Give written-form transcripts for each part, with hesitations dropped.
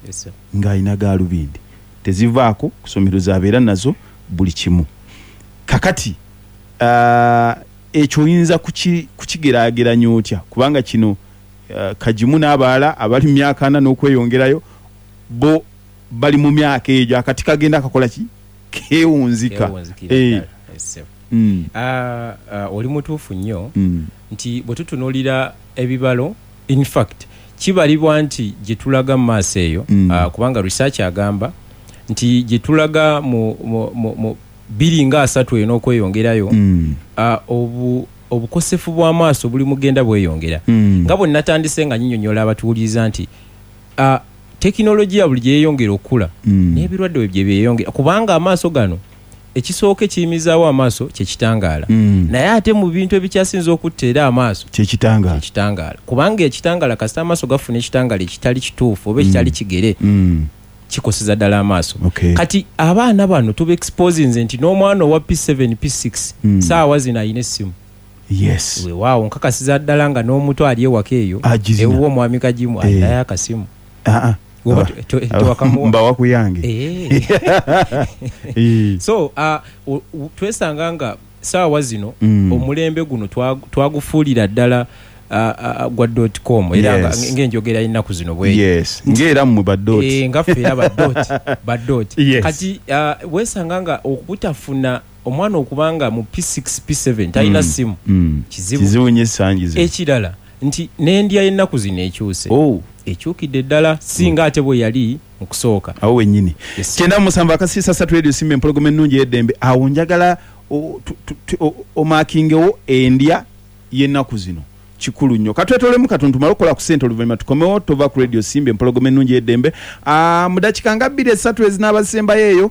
Yes, sir. Ng'alina gaalubindi tezivaako ku ssomero, zabeera nazo buli kimu. Kakati ekyo oyinza kukigeraageranya otya? Kubanga kino Kagimu n'abalala abali mu myaka 40 n'okweyongerayo bo bali mu myaka egyo, akati kagenda kakola ki? Keewunzika. Keewunzikira ddala. Yes, sir. Oli mutuufu nnyo nti bwe tutunuulira ebibalo, in fact kibalibwa nti gye tulaga mu maaso eyo, kubanga research agamba nti gye tulaga mu 2030 eyo n'okweyongerayo, obukosefu bw'amaaso buli mugenda bweyongera. Nga bwe natandise nga nyinyonnyola abatuwuliriza nti tekinologiya buli gye yeeyongera okukula, n'ebirwadde bwe bye byeyongera, kubanga amaaso gano ekisooka ekiyimizaawo amaaso kye kitangaala. Naye ate mu bintu ebikyasinze okutta era amaaso kyekitangaala. Kyekitangaala, kubanga ekitangaala, kasita amaaso gafuna ekitangaala ekitali kituufu oba ekitali kigere, kikoseza ddala amaaso. Kati abaana bano tuba exposinze nti n'omwana owa P7, P6, saawa zino alina essimu. Weewaawo nkakasiza ddala nga n'omuto ali ewaka eyo Agirina. ewuwo omwami Kagimu, alinayo akasimu. Ah, ah. Oba tewakamuwa? Mbawa ku yange. So twesanga nga saawa zino omulembe guno twagufuulira ddala gwa dot com, era ng'enjogera y'ennaku zino bw'eri. Yes. Ng'era mmwe ba dot. Nga ffe era ba dot, ba dot. Kati weesanga nga okubutafuna omwana okubanga mu P6, P7 talina simu. Kizibu. Kizibu nnyo essangi zino. Ekirala nti n'endya y'ennaku zino ekyuse. Ekyukidde ddala singa ate bwe yali mu kusooka. Awo wennyini. Yes. 97.3 Radio Simba, empologoma ennungi ey'eddembe. Awo njagala omakingewo endya y'ennaku zino. Kikulu nnyo. Katwetolemu katono tumale okukola ku ssente, oluvannyuma tukomewo. Tova ku Radio Simba, empologoma ennungi ey'eddembe. Mu dakiika nga bbiri esatu ezinaabasembayo eyo,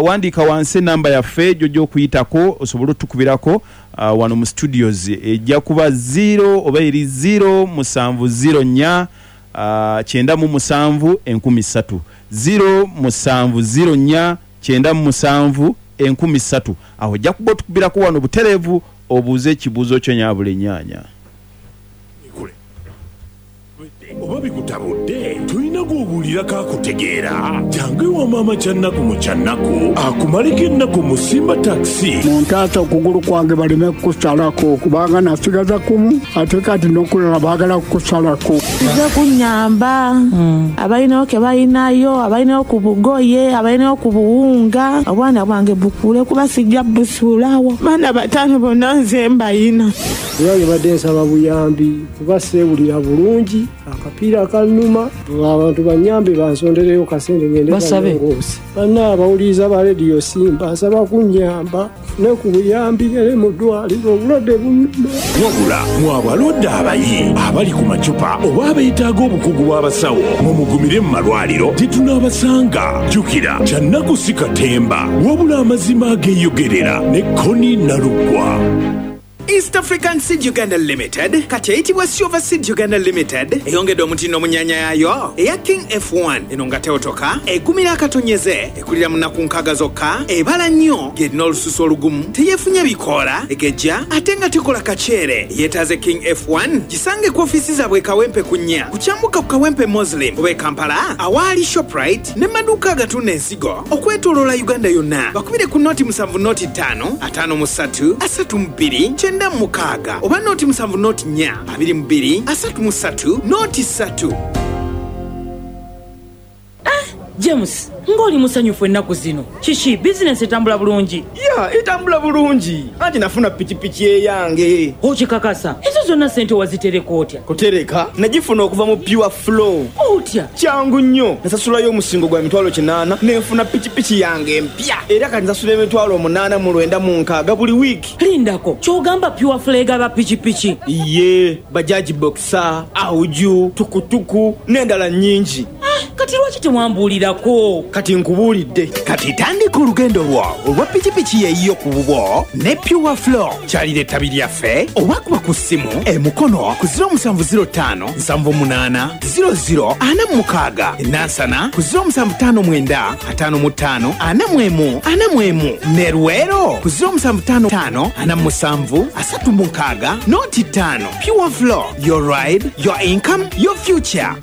wandiika wansi enamba yaffe gy'ojja okuyitako osobole otukubirako wano mu studios. Ejja kuba 0 oba eri 0 7 0 4 97 3000, 0 7 0 4 97 3000. Awo ojja kuba otukubirako wano butereevu obuuze ekibuuzo kyo nyaabula ennyaanya. Oba bikutabudde, tolina gw'obuulirako akutegeera. Jangu ewa maama Kyannaku mu Kyannaku akumaleko ennaku mu Simba Taxi. Muntaase okugulu kwange baleme kukusalako, kubanga nasigaza kumu ate kati n'okulala baagala kukusalako. Nze kunyamba abalinawo ke balinayo, abalinawo ku bugoye, abalinawo ku buwunga, obwana bwange bukule kuba sijja busuulawo. Baana 5 bonna nze mbayina. Era mbadde nsaba buyambi kuba seewulira bulungi, akapiira kannuma, abantu bannyambe bansondereyo kasente ngende Basabe. balongoose. Banna abawuliriza ba Radio Simba nsaba kunnyamba ne ku buyambi ngende mu ddwaliro, obulwadde bunnuma. Wabula mwe abalwadde abayi abali ku macupa oba abeetaaga obukugu bw'abasawo, mumugumire mu malwaliro tetunaabasanga. Jjukira Kyannaku si katemba, wabula amazima ageeyogerera ne Connie Nalugwa. East African Seed Uganda Limited kati eyitibwa Silver Seed Uganda Limited eyongedde omutindo mu nnyanya yaayo eya King F1. Eno nga tewotoka, egumira akatonyeze, ekulira mu nnaku 60 zokka, ebala nnyo, ng'erina olususu olugumu, teyeefunya bikoola, egejja ate nga tekola kaceere. Yeetaaze King F1 gisange ku ofiisi zaabwe e Kawempe ku nnya ku kyambuka ku Kawempe Muslim oba e Kampala awaali Shoprite ne maduuka agatunda ensigo okwetooloola Uganda yonna. Bakubire ku noti 7 noti 5 53 32 96 oba noti 7 noti 4 22 33 noti 3. James, ng'oli musanyufu ennaku zino. Kiki, bizinensi etambula bulungi? Ya, etambula bulungi. Anti nafuna pikipiki eyange. Okikakasa, ezo zonna ssente wazitereka otya? Kutereka, nagifuna okuva mu Pure Flow. Otya? Kyangu nnyo. Nasasulayo omusingo gwa mitwalo 8 nenfuna pikipiki yange empya. Era kati nsasula emitwalo 896 buli wiiki. Lindako, ky'ogamba Pure Flow egaba pikipiki? Iye, Bajaj Boxer, Auju, tukutuku n'endala nnyingi. Kati lwaki tewambuulirako? Kati nkubuulidde. Kati tandika olugendo lwo olwa pikipiki eyiyo ku bubwo ne Pure Flow. Kyalira ettabi lyaffe oba kuba ku ssimu e Mukono ku ziro musanvu ziro ttaano nsanvu munaana ziro ziro ana mu mukaaga, e Nansana ku ziro musanvu ttaano mwenda ataano mu ttaano ana mu emu ana mu emu, ne Luweero ku ziro musanvu ttaano ttaano ana mu musanvu asatu mu nkaaga noti ttaano. Pure Flow, your ride, your income, your future.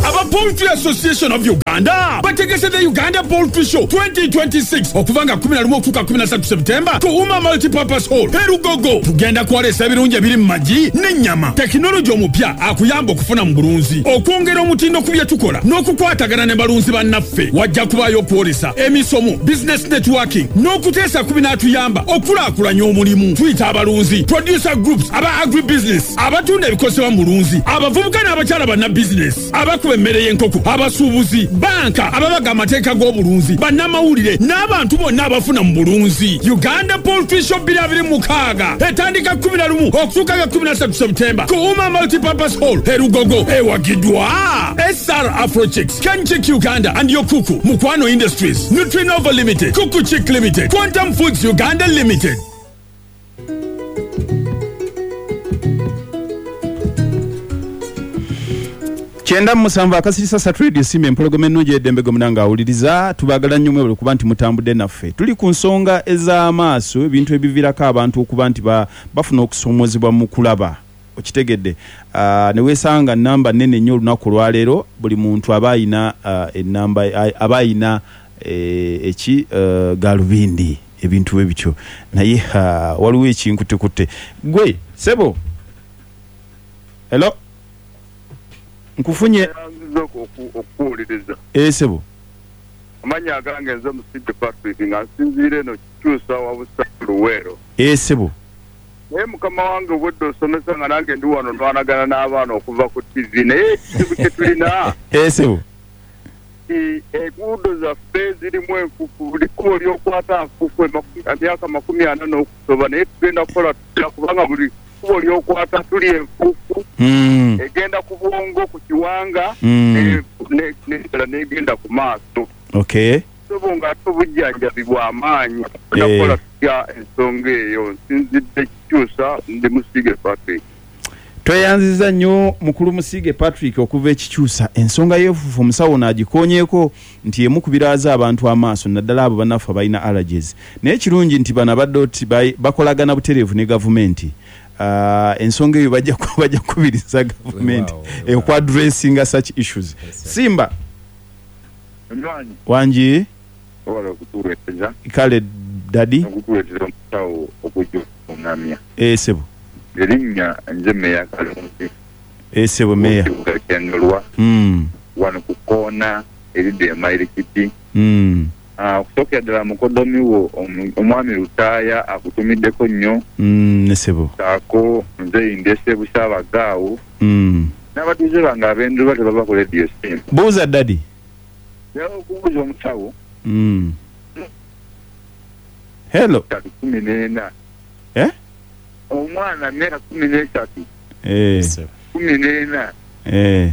Aba Poultry Association of Uganda bategese the Uganda Poultry Show 2026 okuva nga 11 okutuuka 13 September ku Uma Multipurpose Hall e Lugogo. Tugenda kwolesa ebirungi ebiri mu magi n'ennyama, tekinologi omupya akuyamba okufuna mu bulunzi, okwongera omutindo ku bye tukola n'okukwatagana ne balunzi bannaffe. Wajja kubaayo okwolesa, emisomo, business networking n'okuteesa ku binaatuyamba okukulaakulanya omulimu. Tuyita abalunzi, producer groups, aba agribusiness, abatunda ebikozesebwa mu bulunzi, abavubuka n'abakyala bannabizinesi, abakuba emmere y'enkoko, abasuubuzi, banka, ababaga amateeka g'obulunzi, bannamawulire n'abantu bonna abafuna mu bulunzi. Uganda Poultry Show 2026 etandika 11 okutuuka nga 13 September ku Uma Multipurpose Hall e Lugogo, ewagiddwa SR Afrochicks, Kenchic Uganda and Yokuku, Mukwano Industries, Nutrinova Limited, Kuku Chick Limited, Quantum Foods Uganda Limited. 97 akasirisa satu Radio Simba empologoma ennungi ey'eddembe gwe munange awuliriza. Tubaagala nnyo mwebale okuba nti mutambudde naffe. Tuli ku nsonga ez'amaaso, ebintu ebiviirako abantu okuba nti bafuna okusoomoozebwa mu kulaba. Okitegedde? Ne weesanga nnamba nnene nnyo olunaku olwaleero, buli muntu aba alina ennamba, aba alina eki, gaalubindi, ebintu bwe bityo. Naye ha, waliwo ekinkutekutte. Ggwe, ssebo? Hello? Nkufunye. Neyanziza okukuwuliriza. Eeh sebo. Amannya agange nze Musiige Patrick nga nsinziira eno Kikyusa Wabusa Luweero. Eeh sebo. Naye mukama wange obwedda osomesa nga nange ndi wano nwanagana n'abaana okuva ku TV naye ekizibu kyetulina. Eeh sebo. Nti enguudo zaffe zirimu enfufu buli kkubo lyokwata nfufu emyaka 40 n'okusoba naye tugenda kukola tutya kubanga buli kkubo lyokwata tuli enfuufu egenda ku bwongo ku kiwanga negenda ku maaso. Okay. Ssebo nga ate obujjanjabi bwa maanyi tugenda kukola tutya ensonga eyo? Nsinzidde Kikyusa ndi Musiige Patrick. Tweyanziza nnyo Mukulu Musiige Patrick okuva e Kikyusa. Ensonga y'enfuufu omusawo ono agikoonyeeko nti y'emu ku biraaza abantu amaaso naddala abo bannaffe abalina allergies. Naye ekirungi nti bano aba dot bakolagana butereevu ne gavumenti. Ensonga eyo bajja kukubiriza gavumenti oku addressinga such issues. Simba. Wangi. Webale okutuweereza. Kale daddy. Nokutuweereza omusawo okujja okulungamya. Eeh sebo. Erinnya nze Meya Kalungi. Eeh sebo Meya. Ow'ekibuga kye Ndolwa. Wano ku koona eridda e Mayirikiti. Okusookera ddala mukodomi wo Omwami Lutaaya akutumiddeko nnyo. Ne sebo. Saako Mzeei Ndese Busaabaga awo. N'abatuuze bange ab'e Ndolwa tebava ku leediyo Simba. Buuza daddy. Njagala okubuuza omusawo. Hello. Esatu 14. Eh? Omwana myaka 13. Eh. 14. Eh.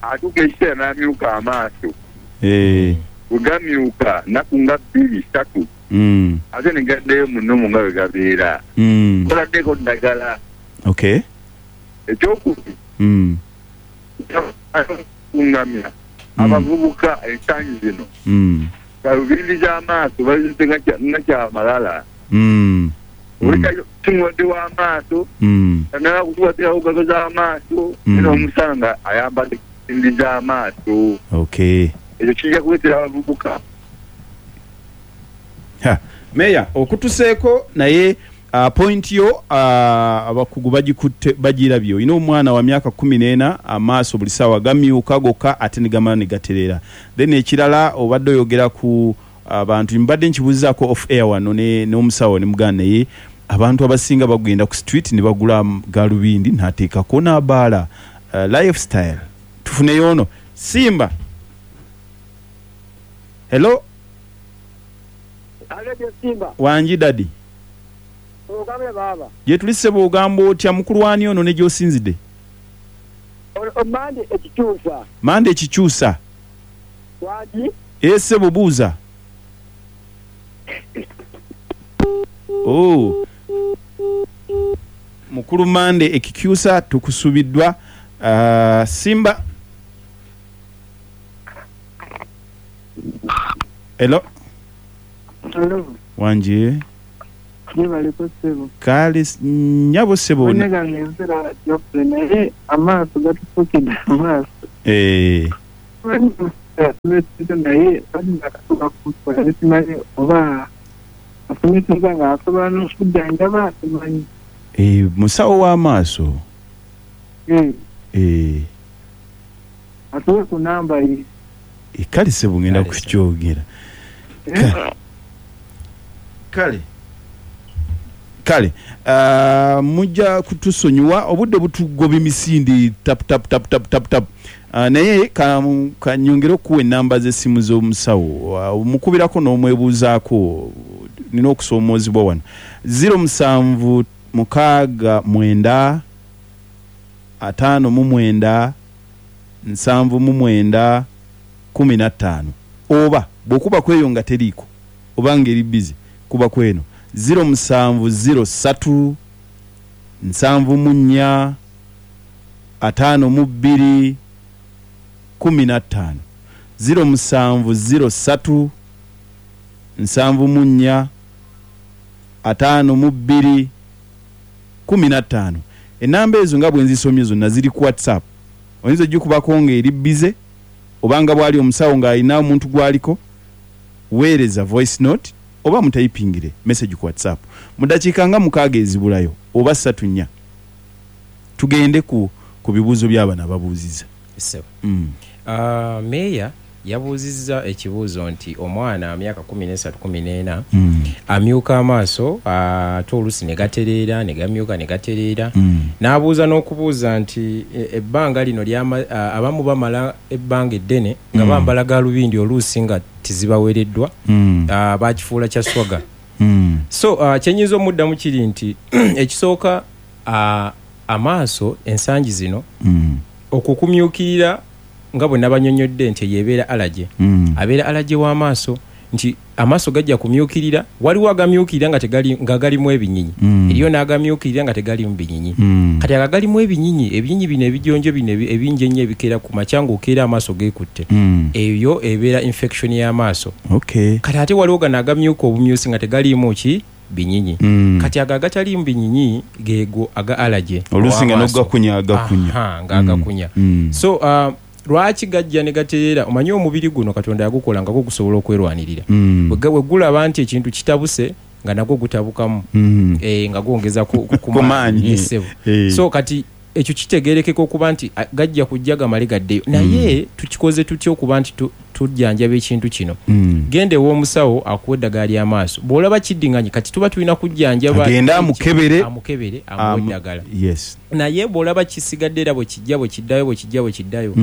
Atuuka ekiseera n'amyuka amaaso. Eh. Bwe gamyuka nnaku nga bbiri satu. Ate ni gaddayo mu nomo nga bwe gabeera. Toladdeko ddagala. Okay. Ekyokubiri. Okungamya abavubuka ensangi zino galubindi z'amaaso bazizze nga kyamalala. Oli si mulwadde wa maaso, tanaba kutuwatirako galo z'amaaso naye n'omusanga nga ayambadde galubindi z'amaaso. Ekyo kijja kuleetera abavubuka. Meeya okutuseeko naye Point yo abakugu bagikutte bagirabye. Olina omwana wa myaka 14 amaaso buli saawa gamyuka gokka ate negamala negatereera. Then ekirala obadde oyogera ku bantu mbadde nkibuzizaako off air wano n'omusawo nemugamba naye abantu abasinga bagenda ku street nebagula galubindi nateekako nabaala. Life style. Tufuneyo ono. Simba. Hello. Wangi daddy. Ogambye baaba. Gyetuli ssebo ogamba otya mukulu wani ono ne gyosinzide? Ono Mande ekikyusa. Mande ekikyusa. Wangi. Eeh ssebo buuza. Ooh. Mukulu Mande ekikyusa tukusubiddwa. Simba. Hello. Hello. Wangi. Gyebaleko ssebo. Kale nyabo ssebo. Amannya gange nze Geoffrey naye amaaso gatufuukidde amaaso. Naye akatuuka kukola simanyi oba asomeseza ng'asobola n'okujjanjaba, simanyi. Musawo w'amaaso. Atuwe ku namba ye. Kale sebo, ngenda kukyogera. Kale mujja kutusonyiwa, obudde butugoba emisinde tap tap tap tap tap tap. Naye kanyongere okuwa enamba z'essimu z'omusawo, omukubirako n'omwebuuzaako. Nina okusoomoozebwa wano. 0769 59 79 15, oba bw'okuba kweyo nga teriiko oba ng'eri busy, kuba kweno 0703 74 52 15, 0703 74 52 15. Enamba ezo nga bwe nzisomye zonna ziri ku WhatsApp. Oyinza ogikubako ng'eri busy obanga bwali omusawo ng'alina omuntu gwaliko, weereza voice note oba mutayipingire message ku WhatsApp. Mu dakiika nga 6 ezibulayo oba 3 4, tugende ku bibuuzo by'abano ababuuziza. Meeya yabuuzizza ekibuuzo nti omwana myaka 13 14 amyuka amaaso, ate oluusi ne gatereera ne gamyuka ne gatereera. N'abuuza n'okubuuza nti ebbanga lino abamu bamala ebbanga eddene nga bambala galubindi oluusi nga tezibawereddwa, bakifuula kya swaga. So kyenyinza omuddamu kiri nti ekisooka, amaaso ensangi zino okukumyukirira nga bwe nabanyonyodde nti eyo ebeera allergy, abeera allergy w'amaaso, nti amaaso gajja kumyukirira. Waliwo agamyukirira nga tegali, nga galimu ebinyinyi, eriyo n'agamyukirira nga tegalimu binyinyi. Kati aga galimu ebinyinyi, ebinyinyi bino ebijonjo bino ebingi ennyo ebikeera ku makya ng'okeera amaaso geekutte, eyo ebeera infection y'amaaso. Kati ate waliwo gano agamyuka obumyusi nga tegaliimu ki binyinyi. Kati ago agataliimu binyinyi geego aga allergy oluusi nga n'ogakunya agakunya. Aha, nga agakunya. So lwaki gajja ne gatereera? Omanyi omubiri guno Katonda yagukola nga gwo gusobola okwerwanirira. Bwe gulaba nti ekintu kitabuse nga nagwo gutabukamu, nga gwongeza ku maanyi. Yes, ssebo. So kati ekyo kitegerekeka okuba nti gajja kujja gamale gaddeyo. Naye tukikoze tutya okuba nti tujjanjaba ekintu kino? Genda ew'omusawo akuwa eddagala ly'amaaso. Bw'olaba kiddinganye, kati tuba tulina kujjanjaba. Agende amukebere. Amukebere, amuwe eddagala. Naye bw'olaba kisigadde era bwe kijja bwe kiddayo bwe kijja bwe kiddayo,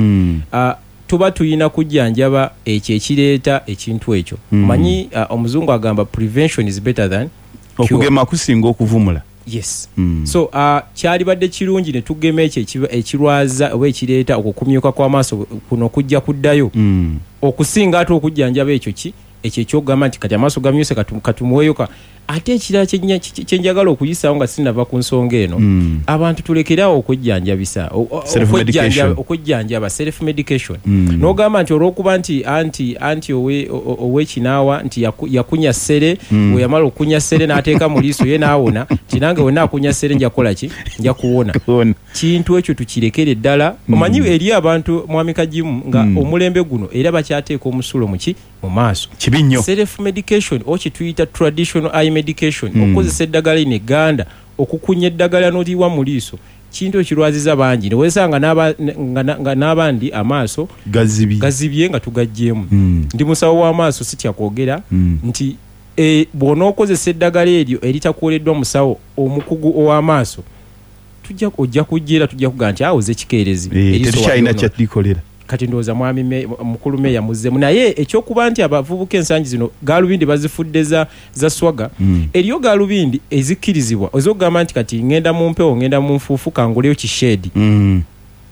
tuba tulina kujjanjaba ekyo ekireeta ekintu ekyo. Omanyi omuzungu agamba prevention is better than cure. Okugema kusinga okuvumula. Yes. So kyalibadde kirungi ne tugema ekyo ekirwaza oba ekireeta okukumyuka kw'amaaso kuno kujja kuddayo, okusinga ate okujjanjaba ekyo ki ekyo ekyokugamba nti kati amaaso gamyuse katumuweeyo ka. Ate ekirala kyenjagala okuyisaawo nga sinnava ku nsonga eno, abantu tulekeraawo okwejjanjabisa, Self-medication. okwejjanjaba, self medication. N'ogamba nti olw'okuba nti anti ow'ekinaawa nti yakunya ssere, bwe yamala okukunya ssere n'ateeka mu liiso ye n'awona, nti nange wenna akunya ssere nja kukola ki? Nja kuwona. Kuwona. Kintu ekyo tukirekere ddala. Omanyi eri abantu, Mwami Kagimu, nga omulembe guno era bakyateeka omusulo mu ki? Mu maaso. Kibi nnyo. Self medication oba kyetuyita traditional eye medication, okukozesa eddagala lino egganda, okukunya eddagala n'oliwa mu liiso, kintu ekirwaziza bangi. Ne weesanga nga n'abandi amaaso gazibye, gazibye nga tugaggyeemu. Ndi musawo w'amaaso, sitya kwogera nti bw'onookozesa eddagala eryo eritakuwereddwa musawo omukugu ow'amaaso, ojja kujja era tujja kugamba nti awo ze kikeerezi. Eriiso tetukyalina walyonoona. Kyalikolera. Kati ndowooza mwami mukulu meeya muzzeemu. Naye ekyokuba nti abavubuka ensangi zino gaalubindi bazifudde za swaga, eriyo gaalubindi ezikkirizibwa ez'okugamba nti kati ngenda mu mpewo, ngenda mu nfuufu, kanguleyo kisheedi.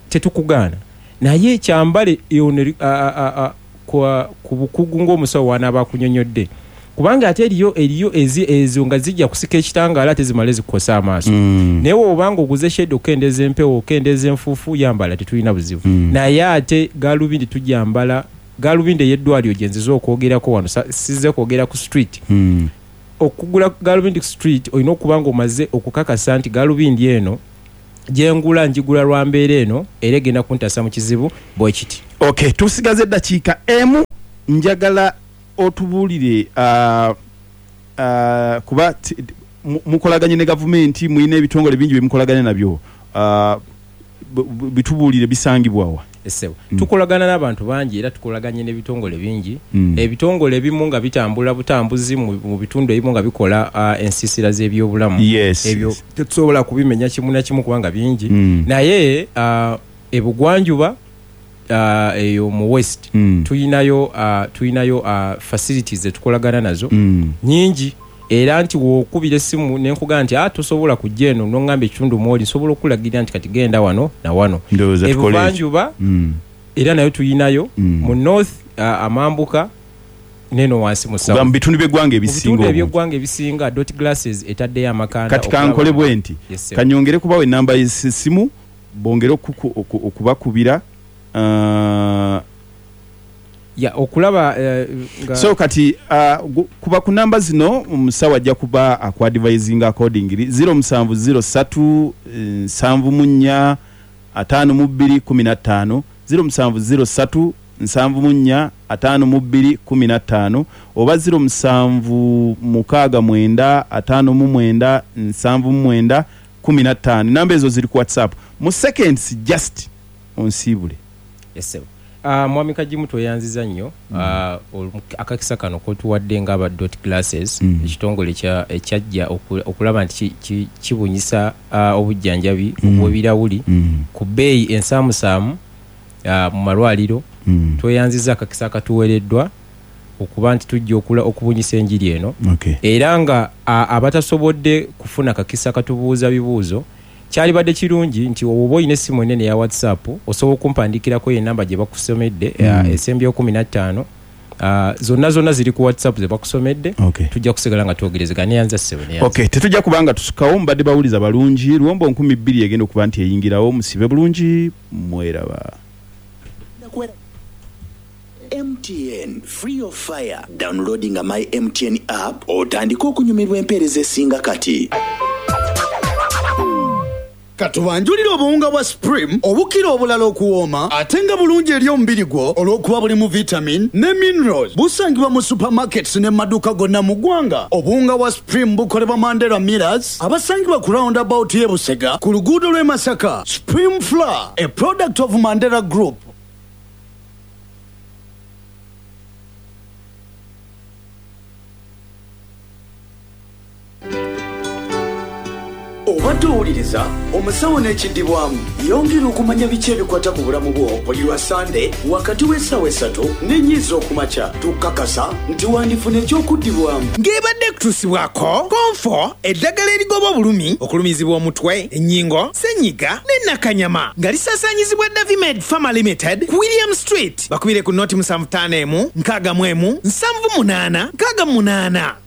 Tetukugaana, naye kyambale ono ku bukugu ng'omusawo w'anaaba akunyonyodde, kubanga ate eriyo ezo nga zijja kusika ekitangaala ate zimale zikukosa amaaso. Naye bw'obanga oguze shade okukendeeza empewo, okukendeeza enfuufu, yambala, tetulina buzibu. Naye ate gaalubindi tujambala, gaalubindi ey'eddwaliro gye nzize okwogerako wano, sizze kwogera ku street. Okugula gaalubindi ku street olina okuba ng'omaze okukakasa nti gaalubindi eno Gyengula njigula lwa mbeera eno, era egenda kuntaasa mu kizibu bwe kiti. Okay, tusigaze eddakiika emu. Njagala otubuulire, kuba mukolaganye ne gavumenti, mulina ebitongole bingi byemukolaganye nabyo, bitubuulire bisangibwawa. Essebo, tukolagana n'abantu bangi era tukolaganye n'ebitongole bingi. Ebitongole ebimu nga bitambula butambuzi mu bitundu ebimu nga bikola ensiisira z'ebyobulamu. Ebyo tetusobola kubimenya kimu na kimu kubanga bingi. Naye ebugwanjuba, eyo mu west, tuyinayo facilities zetukolagana nazo nyingi, era nti wokubira essimu nenkugamba nti tosobola kujja eno, noŋŋamba ekitundu mwoli, nsobola okulagirira nti kati genda wano na wano. Ndowooza tukole ekyo. Ebuvanjuba era nayo tuyinayo, mu north, amambuka neno wansi mu Kuba mu bitundu by'eggwanga Mu ebisinga bitundu obungi. eby'eggwanga ebisinga, Dot Glasses etaddeyo amakanda Kati kankole bwe nti, Yes, sir. kanyongere kubawa enamba y'essimu bongere okubakubira. Ya okulaba nga So kati kuba ku namba zino, omusawo ajja kuba akuadvising accordingly. 0703 74 52 15, 0703 74 52 15, oba 0769 59 79 15. Namba ezo ziri ku WhatsApp. Mu seconds just onsiibule. Yes, sir. Mwami Kagimu, tweyanziza nnyo akakisa kano kotuwadde ng'aba Dot Glasses, ekitongole ekyajja okulaba nti kibunyisa obujjanjabi obw'ebirawuli ku bbeeyi ensaamusaamu mu malwaliro. Tweyanziza akakisa akatuweereddwa okuba nti tujja okubunyisa enjiri eno. Era nga abatasobodde kufuna kakisa katubuuza bibuuzo, kyalibadde kirungi nti oba olina essimu enene eya WhatsApp, osobola okumpandikirako enamba gye bakusomedde, esembyeyo 15. Zonna zonna ziri ku WhatsApp ze bakusomedde. Tujja kusigala nga twogerezegana. Neyanza, ssebo, neyanza. Okay, tetujja kubanga tusukawo. Mubadde bawuliza balungi. Luwombo 2000 egenda okuba nti eyingirawo. Musibe bulungi, mweraba. MTN Free of Fire. Downloadinga My MTN app otandike okunyumirwa empeereza esinga kati. Katubanjulire obuwunga bwa Supreme obukira obulala okuwooma ate nga bulungi eri omubiri gwo olw'okuba bulimu vitamin ne minerals. Busangibwa mu supermarkets ne mu maduuka gonna mu ggwanga. Obuwunga bwa Supreme bukolebwa Mandera Millers abasangibwa ku roundabout y'e Busega ku luguudo lw'e Masaka. Supreme Flour, a product of Mandera Group. Obadde owuliriza omusawo n'ekiddibwamu. Yongera okumanya biki ebikwata ku bulamu bwo buli lwa Sande wakati w'essaawa 3 n'ennya ez'okumakya. Tukakasa nti wandifuna ekyokuddibwamu. Ng'ebadde ekutuusibwako Konfo, eddagala erigoba obulumi, okulumizibwa omutwe, ennyingo, ssenyiga ne nakanyama, nga lisaasaanyizibwa Davimed Pharma Limited ku William Street. Bakubire ku 075 1 61 78 68.